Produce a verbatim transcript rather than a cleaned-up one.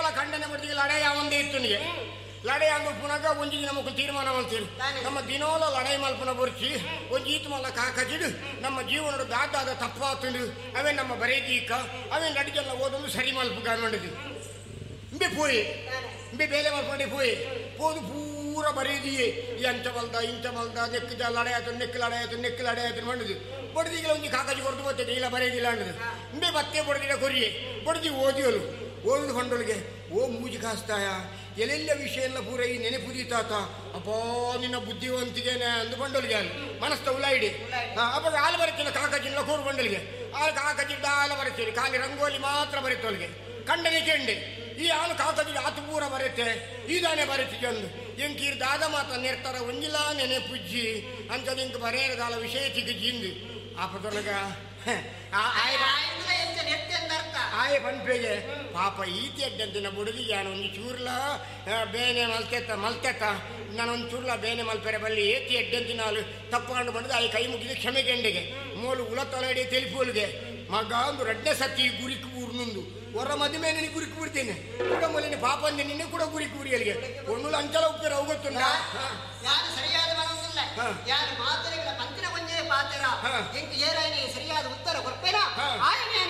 ಏಪಲ ಖಂಡನೆ ಬಡ್ದಿಗೆ ಲಡಾಯಿ ಒಂದೇ ಇತ್ತು ನಿಗೆ ಲಡಾಯಿ ಅಂದು ಪುನಗ ಒಂಜಿ ದಿನ ಮುಖ ತೀರ್ಮಾನ ಮಾಡ್ತೀರಿ ನಮ್ಮ ದಿನೋಲ ಲಡಾಯಿ ಮಲ್ಪನ ಬೊರ್ಚಿ ಒಂಜಿ ಈತು ಮಲ್ಲ ಕಾಕಜಿಡು ನಮ್ಮ ಜೀವನದ ದಾದಾದ ತಪ್ಪಾತುಂಡು ಅವೇ ನಮ್ಮ ಬರೇದೀಕ ಅವೇ ನಡಿಗೆಲ್ಲ ಓದೊಂದು ಸರಿ ಮಲ್ಪು ಕಾಣಿದ್ದು ಇಂಬೆ ಪೋಯಿ ಇಂಬೆ ಬೇಲೆ ಮಲ್ಪಂಡೆ ಪೋಯಿ ಪೋದು ಪೂರ ಬರೇದಿಯೇ ಎಂಚ ಮಲ್ದ ಇಂಚ ಮಲ್ದ ನೆಕ್ ಲಡಾಯಿ ಆಯ್ತು ನೆಕ್ ಲಡಾಯಿ ಆಯ್ತು ನೆಕ್ ಲಡಾಯಿ ಆಯ್ತು ಮಾಡಿದ್ದು ಬಡ್ದಿಗೆಲ್ಲ ಒಂಜಿ ಕಾಕಜಿ ಕೊಡ್ದು ಬರ್ತದೆ ಇಲ್ಲ ಬರೇದಿಲ್ಲ ಅಂಡದು ಇಂಬೆ ಬತ್ತೆ ಬಡ್ದಿಲ್ಲ ಕೊರಿಯೆ ಬಡ್ದಿ ಓದಿಯೋಲು ಓದು ಕೊಂಡೊಳಗೆ ಓ ಮೂಜಿ ಕಾಸ್ತಾಯ ಎಲ್ಲೆಲ್ಲ ವಿಷಯ ಎಲ್ಲ ಪೂರ ಈ ನೆನಪುದೀತಾತ ಅಪ್ಪೋ ನಿನ್ನ ಬುದ್ಧಿವಂತಿಗೆನೆ ಅಂದು ಬಂಡೊಲಿಗೆ ಅಲ್ಲಿ ಮನಸ್ತ ಉಲಾಯಿಡಿ ಅಪ್ಪ ಹಾಲು ಬರುತ್ತಿಲ್ಲ ಕಾಕಜಿಲ್ಲ ಕೂರು ಬಂಡಲಿಗೆ ಹಾಲು ಕಾಕಜಿ ಹಾಲು ಬರುತ್ತೀರಿ ಖಾಲಿ ರಂಗೋಲಿ ಮಾತ್ರ ಬರುತ್ತೊಳಗೆ ಕಂಡನೆ ಕೆಂಡೆ ಈ ಹಾಲು ಕಾಕಜಿ ಆತು ಪೂರ ಬರುತ್ತೆ ಈದಾನೆ ಬರುತ್ತಿಗೆ ಅಂದು ಎಂಕೀರ್ ದಾದ ಮಾತ್ರ ನೆರ್ತಾರ ಒಂಜಿಲ ನೆನೆಪುಜ್ಜಿ ಅಂಥದ್ದು ಇಂಕ ಬರೇರದಾಲ ವಿಷಯ ತಿಗಿಜಿಂದು ಆಪದೊಳಗ ಆಯೆ ಪನ್ಪೆಗೆ ಪಾಪ ಈತಿ ಅಡ್ಡಂತಿನ ಬುಡದಿಗೆ ನಾನು ಒಂದು ಚೂರ್ಲ ಬೇನೆ ಮಲ್ತೆತ್ತ ಮಲ್ತೆತ್ತ ನಾನೊಂದು ಚೂರ್ಲ ಬೇನೆ ಮಲ್ಪೆರೆ ಬಲ್ಲಿ ಏತಿ ಎಡ್ಡಂತಿನ ಹಾಲು ತಪ್ಪಾಂಡು ಬಂದು ಆಯೆ ಕೈ ಮುಗಿದ ಕ್ಷಮೆ ಗೆಂಡೆಗೆ ಮೂಲು ಉಲ ತೊಲೆಡೆ ತೆಲಿಪೋಲ್ಗೆ ಮಗ ಒಂದು ರಡ್ಡೆ ಸತಿ ಗುರಿಕ್ ಊರ್ನುಂದು ಹೊರ ಮದುವೆ ನಿನ್ನ ಗುರಿಕ್ ಬಿಡ್ತೇನೆ ಕೂಡ ಮೊದಲಿನ ಪಾಪ ಅಂದೆ ನಿನ್ನೆ ಕೂಡ ಗುರಿಕ್ ಊರಿಯಲ್ಲಿಗೆ ಒಣ್ಣು ಅಂಚಲ ಉಪ್ಪೇರ ಅವು ಗೊತ್ತುಂಟ ಯಾರು ಸರಿಯಾದ ಮನಸ್ಸಿಲ್ಲ ಯಾರು ಮಾತುಗಳ ಪಂತಿನ ಒಂದೇ ಪಾತ್ರ ಎಂಟು ಏರಾಯನೆ ಸರಿಯಾದ ಉತ್ತರ ಕೊಡ್ಪೇನ ಆಯನೆ